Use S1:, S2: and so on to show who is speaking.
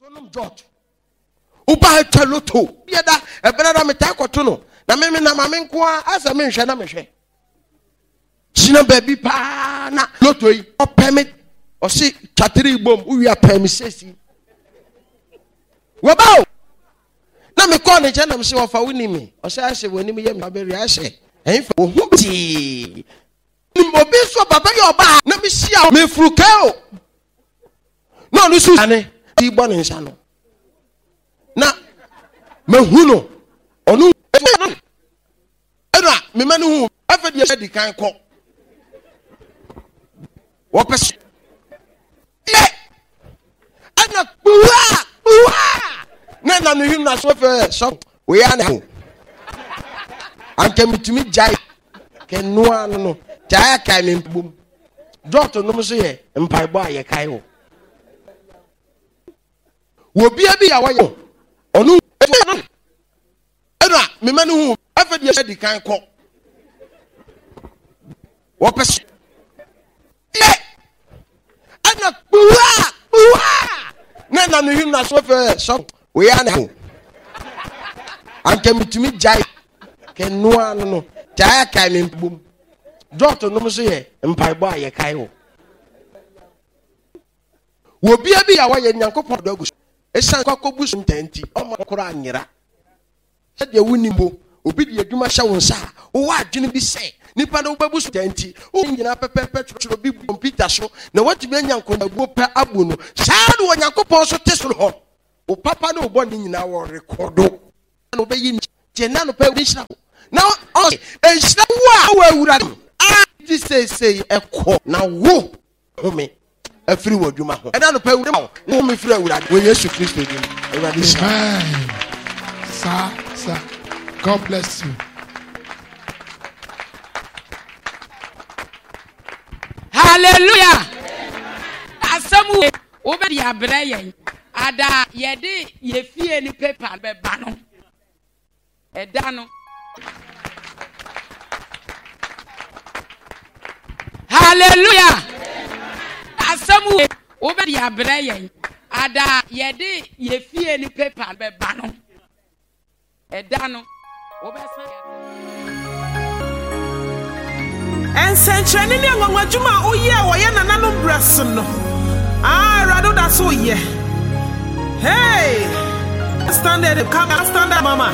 S1: So nom George. Woba ha twa loto. Bia da ɛbɛrɛ da metaa kɔto no. Na me me na ma me nko ara asɛ menhwɛ na mehwɛ. Gyina baabi paa na loto yi ɔpɛ me ɔse twatiri bom wowie apɛ me sesi. Wɔba o. Na mekɔɔ ne nkyɛn na mese wɔfa wo ni me. Ɔsɛ asɛ w'anim yɛ me abɛri asɛ ɛnfa wo ho tii. Nim obi nso papa bi ɔbaa na mehyia mefuru kɛ o. Na ɔno nso ane ti bɔ ne nsa no. Na mahu no ɔno ɛna mema no hu afɛ deɛ di kan kɔ. Wɔpɛ so yɛ ɛna kpuwa kpuwa na ɛna no him na so fɛ sɔ wei ana ho anka metumi gyae kɛnoa no no gyae akae me mbom dɔɔto nom so yɛ mpaebɔ a yɛkae wɔ wɔ bia bi a wɔyɛ ɔno ɛna mema no hu afɛ deɛ di kan kɔ wɔpɛ so yɛ ɛna kpuwa kpuwa na ɛna no him na so fɛ sɔ wei ana ho anka metumi gyae kɛnoa no no gyae akae me mbom dɔɔto nom so yɛ mpaebɔ a yɛkae wɔ wɔ bia bi a wɔyɛ nyankopɔn dɔ agu so ɛsiane kɔkɔbu so ntaa nti ɔma koraa nyera Sɛdeɛ wonim mpo, obi de adwuma hyɛ wo nsa a, wowɔ adwene bi sɛ nipa no wobɛbu so nti, wo nyinaa pɛpɛɛpɛ twerɛtwerɛ bi gu kɔmputa so na woatumi anya nkontabuo pɛ abu no. Saa ara na Onyankopɔn nso te soro hɔ. Wo papa ne wo bɔne nyinaa wɔrekɔdo. Na wobɛyi ne kyɛ na anɔpa Awurade nhyira wo. Na ɔse, nhyira wo a wɔ Awurade mu a gye seesei ɛkɔ na wo home afiri wɔ adwuma ho. Ɛna anɔpa Awurade ma wo home firi Awurade wɔ Yesu Kristo din mu. Awurade nhyira wo.
S2: Amen. Sir, sir. God bless you.
S3: Hallelujah. Asɛm wei wobɛde abrɛ yɛn ada yɛde yɛ fie ne paper bɛba no. Ɛda no. Hallelujah! Asɛm wei wobɛde abrɛ yɛn ada yɛde yɛ fie ne paper bɛba no. Ɛda no wobɛsan
S4: Nsɛnkyerɛnne ne anwanwadwuma a woyɛɛ wɔ yɛn nananom berɛ so no, ah, Awurade woda so yɛ. Hey! Standard, come standard, mama.